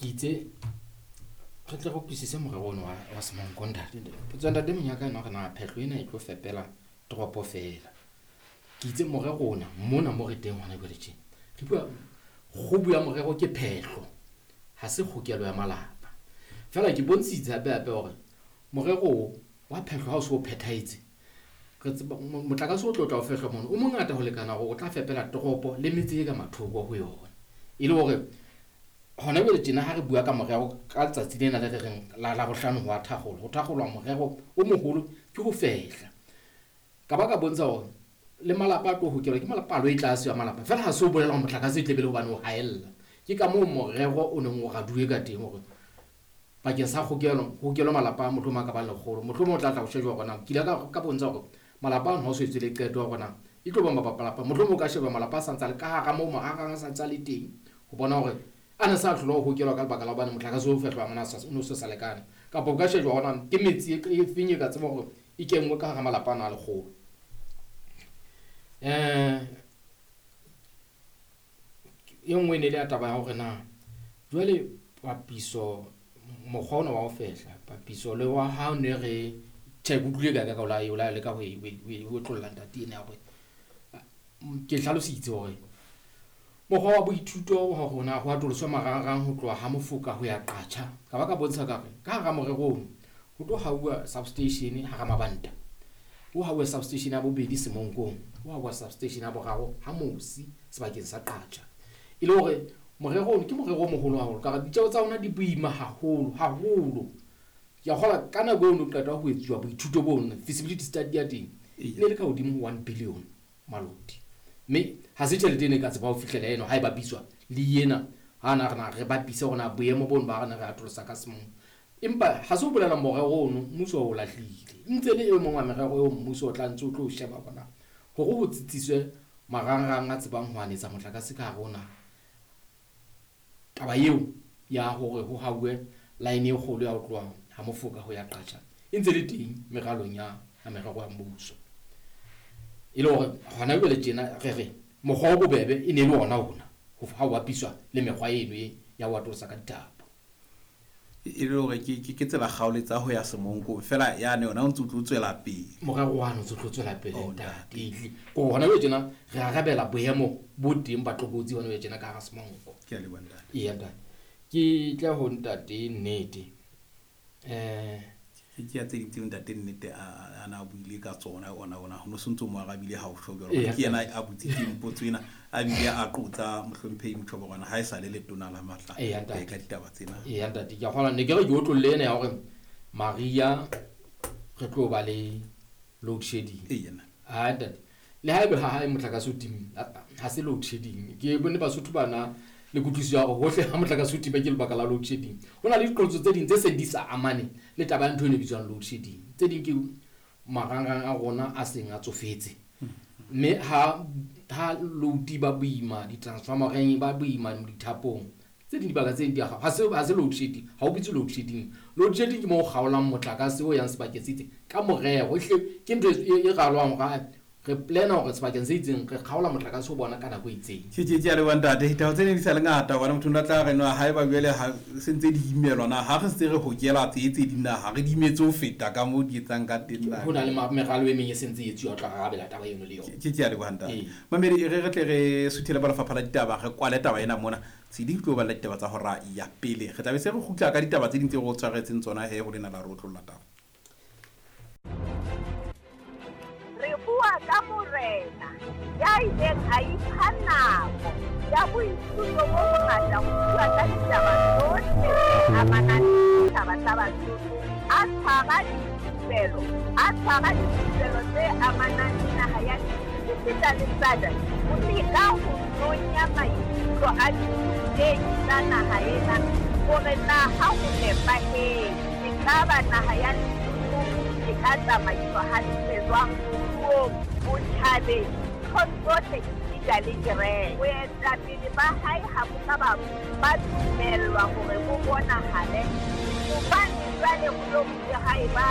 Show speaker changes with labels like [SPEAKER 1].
[SPEAKER 1] Ke itse re tle re utlwisise morero ono wa Semonko ntate. Potso ya ntate Monyaka ena hore na phehlo ena e tlo fepela toropo feela. Ke itse morero ona mona mo re teng hona jwale tjena. Re bua kgubu ya morero ke phehlo, ha se kgokelo ya malapa. Feela ke bontshitse hape hape hore morero o wa phehlo ha o so o phethahetse, re tseba motlakase o tlo tla o fehlwa mono o mongata ho lekana hore o tla fepela toropo le metse e ka mathoko ho yona. E le hore hona jwale tjena ha re bua ka morero ka letsatsi lena le re reng la Labohlano ho a thakgolwa, ho thakgolwa morero o moholo ke ho fehla. Ka ba ka bontsha hore le malapa a tlo hokelwa ke palo e tlase ya malapa, feela ha se o bolela hore motlakase e tle be le hobane o haella. Ke ka moo morero o neng o raduwe ka teng hore bakeng sa kgokelo, ho hokelwe malapa a mohlomong a ka bang 100, mohlomong o tla tla ho shejwa hore na ke ile ka bontsha hore malapa ano ha o so etswe le qeto ya hore na e tlo ba malapa, mohlomong o ka sheba malapa a sa ntse a le ka hara moo marangrang a sa ntse a le teng ho bona hore a ne sa hlola ho hokelwa ka lebaka la hobane motlakase o fehlwang o ne o se sa lekane, kapa o ka shejwa hore na ke metsi e feng e ka tseba hore e kenngwe ka hara malapa ana a 100. E nngwe e ne le ya taba ya hore na jwale papiso mokgwa ona wa ho fehla papiso le wa ha ne re tjhe ke utlwile ka ka o la leka ho e otlolla ntate ena ya hore ke hlalositse hore mokgwa wa boithuto wa rona ho atoloswa marangrang ho tloha ha Mofoka ho ya Qacha. Ka ba ka bontsha ka re ka hara morero ono ho tlo hauwa substation hara Mabanta, ho hauwa substation ya bobedi Semonkong, ho hauwa substation ya boraro ha Mosi sebakeng sa Qacha. E le hore morero ono ke morero o moholo haholo ka hore ditjeo tsa ona di boima haholo haholo. Ke a kgolwa ka nako eo no qeta ho etsuwa boithuto bono, feasibility study ya teng e ne le ka hodimo ho 1 billion maloti, mme ha se tjhelete ene e ka tseba ho fihlela eno ha e bapiswa le ena ha na re na re bapise hore na boemo bono ba rena re atolosa ka Semonko. Empa ha se ho bolela morero ono mmuso o lahlile, ntse le e mong wa merero eo mmuso o tla ntse o tlo sheba hore na hore ho tsitsiswe marangrang a tsebang ho anetsa motlakase ka hare ho naha. Taba eo ya hore ho hauwe line e kgolo ya ho tloha ha Mofoka ho ya Qacha e ntse le teng meralong ya merero ya mmuso. E le hore hona jwale tjena re re mokgwa o bobebe e ne le ona ona ha o bapiswa le mekgwa eno e ya ho atolosa ka dithapo.
[SPEAKER 2] E le hore ke tsela kgaoletsa ho ya Semonkong fela yane yona o ntse o tlo tswela pele.
[SPEAKER 1] Morero wa no ntse o tlo tswela pele ntate. Ko hona jwale tjena re arabela boemo bo teng ba tlokotsi hona jwale tjena ka hara Semonko.
[SPEAKER 2] Ke a leboha ntate.
[SPEAKER 1] Eya ntate. Ke tla ho ntate Nnete.
[SPEAKER 2] Ke ya tse ding tseo ntate Nnete a na buile ka tsona ona ona ho no se ntso mo arabile ha o tjho jwalo. Ke yena a botsitseng potso ena, a bile a qotsa mohlomphehi Motjhoborwana ha e sa le letona la matla ka ditaba tsena.
[SPEAKER 1] Eya ntate, ke a kgolwa ne ke re ke otlolle ena ya hore Maria re tlo ba le load shedding.
[SPEAKER 2] Eya.
[SPEAKER 1] Ha ntate, le haebe ha hae motlakase o timme, ha se load shedding. Ke bone Basotho bana le kutlwisiso ya hore hohle ha motlakase o tima ke lebaka la load shedding. Ho na le diqholotso tse ding tse seng di sa amane le taba ya ntho eno e bitswang load shedding. Tse ding ke marangrang a rona a seng a tsofetse, mme ha load ba boima di-transformereng, ba boima dithapong, tse ding dibaka tse ding di a ha se load shedding, ha o bitswe load shedding. Load shedding ke moo o kgaolang motlakase o yang sebakeng se itseng ka morero. Ehlile ke ntho e ralwang hore re plana hore sebakeng se itseng re kgaola motlakase o bona ka nako e itseng.
[SPEAKER 2] Ke a leboha ntate. Ditaba tse ne di sa le ngata hobane motho o ne a tla re no haeba jwale ha se ntse di imelwa na ha re se re hokela tse tse ding na ha re di imetse ho feta ka moo di etsang ka teng na.
[SPEAKER 1] Ho na le meralo e meng e sentse e etsuwa ho tla arabela taba eno le yona.
[SPEAKER 2] Ke a leboha ntate. Mamedi, e re re tle re suthele ba lefapha la ditaba, re kwale taba ena mona. Tshedi tlo balla ditaba tsa hora ya pele. Re tla be se re kgutla ka ditaba tse ding tse re o tshwaretseng tsona he ho lena la re otlolla taba.
[SPEAKER 3] Re bua ka morena ya ileng a ipha nako ya boithuto bo bongata ho bua ka ditaba tsohle tse amanang le setjhaba sa Basotho, a tshwara dithupelo, a tshwara dithupelo tse amanang le naha ya esita le SADC, ho leka ho nonya maikutlo a dirutehi tsa naha ena hore na ha ho nepahetse ekaba naha ya Lesotho e ka tsamaiswa hantle jwang moruong, botjhabeng, nthong tsohle esita le kereke. Boetapele ba hae ha bo ka ba dumellwa hore bo bonahale hobane jwale ho lo bile ha eba